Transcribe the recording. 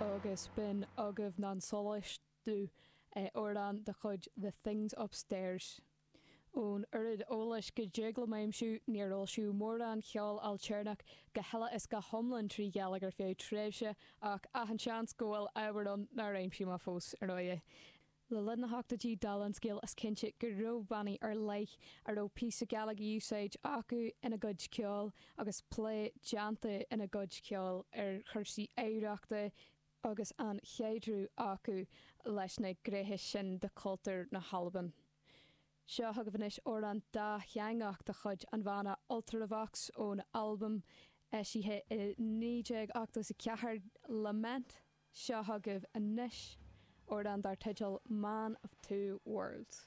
Agus b'in agaibh Nan Solais Dubh, amhrán de chuid The Things Upstairs. Ón oiread eolais go dtig liom a aimsiú, níor foilsíodh mórán cheoil ailtéarnach go huile is go hiomlán trí Ghaeilge ar feadh tréimhse, ach achan seans go bhfuil ábhar ann nár aimsigh mé fós, ar ndóighe. Le linn na hochtóidí, dála an scéil, is cinnte go raibh bannaí ar leith a raibh píosa Gaeilge a úsáid acu ina gcuid ceoil agus plé déanta ina gcuid ceoil ar chúrsaí oidhreachta agus an chaidreamh acu leis na gnéithe sin de chultúr na hAlban. Seo chugaibh anois amhrán dátheangach de chuid an bhanna Ultravox ón albam eisithe i 1984, Lament. Seo chugaibh anois amhrán dar teideal Man of Two Worlds.